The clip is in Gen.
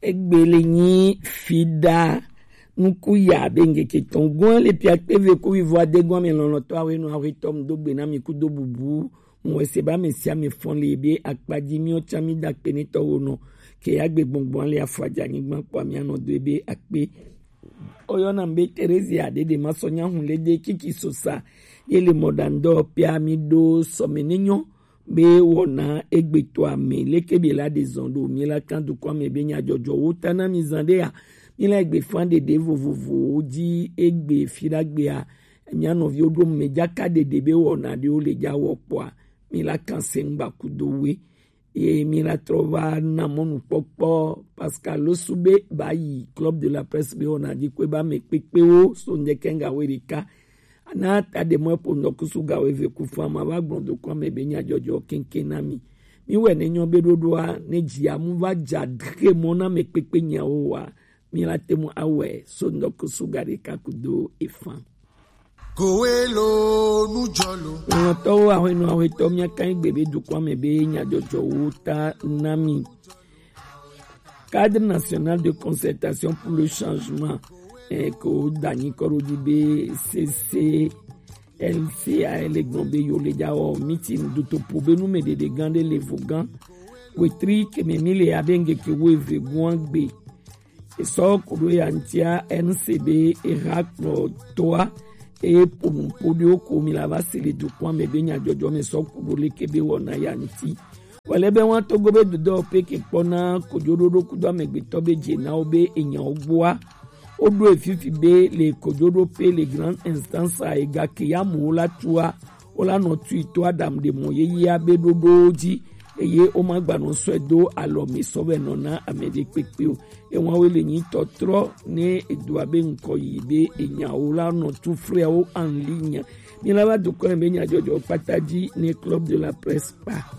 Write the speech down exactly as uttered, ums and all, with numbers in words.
Egbe le nyi fida nuku ya be ngeke tɔn gɔn le pia kpe ve ku vivo ade gɔn mi lɔlɔtɔ awe nu awe tɔ mu do gbe na mi ku do bubu mu wese ba mi sia mi fɔn le be akpa ji mi o tsa mi da kpe ni tɔ wo nɔ ke ya gbe gbɔngbɔn le afɔ aja nyigban kpɔ mi anɔ do be akpe. Oyɔ na be Terezia dede ma sɔ nya hun le de kiki sosa ye le mɔ da ndɔ pia mi do sɔme ne nyɔ be wɔna egbe to ame leke be la de zɔn do mi la kan dukɔ ame be nya jɔjɔ wo ta na mi zan de ya mi la egbe fan dede vovovowo ji egbe fi ɖagbe a mi anɔviwo ɖo me jaka dede be wɔna ɖewo le ja wɔ kpɔa mi la kan se ŋgba kudo we ye mi la trɔ va na mɔnukpɔkpɔ Pascal Losube ba yi Club de la Presse be wɔna ji kue ba me kpekpewo so ŋdɛ kɛŋga we ɖeka. Ana ta ɖe mɔ eƒo ŋdɔkusu ga wo eve ku fama va gblɔ do kɔ ame be nya jɔjɔ keŋkeŋ na mi. Mi wɛ ne nyɔ be ɖoɖoa ne dzi amu va dza ɖe mɔ na me kpekpe nyawo wa mi la te mu awɛ so ŋdɔkusu ga ɖeka ku do efan. Kowe lo nu jɔ lo. Ŋlɔtɔwo ahɔnɔ ahɔetɔ mia kan gbe be dukɔ ame be nya jɔjɔ wo ta na mi. Cadre national de concertation pour le changement eh, ko danyi kɔɖo di be C C L C A le gbɔn be yo le ja wɔ meeting duto po be nu me ɖeɖe gan ɖe le vo gan wetri keme mi le abe ŋgeke wo eve guan gbe esɔ koɖo ya ŋtia N C B eha kplɔ toa eye ponu poɖiwo ko mi la va se le dukɔa me be nyadzɔdzɔ me sɔ koɖo leke be wɔna ya ŋti. Wale be wan togo be dodɔ pe ke kpɔna kojoɖoɖo kudo amegbetɔ be dze na wo be enyawo gboa. Woɖo efifi be le kojoɖo pe le grand instance a ega ke ya mu wo la tua wo la nɔ tui to adam de mɔ yeyea be ɖoɖowo dzi eye wo ma gba nɔ sɔe do alɔ mi sɔ be nɔ na ame ɖe kpekpe o. Ewa wo le nyi tɔtrɔ ne edo abe ŋkɔ yi be enyawo la nɔ tu frɛwo anli nya. Mi la va dukɔ be nyadzɔdzɔ kpata dzi ne Club de la Presse kpa.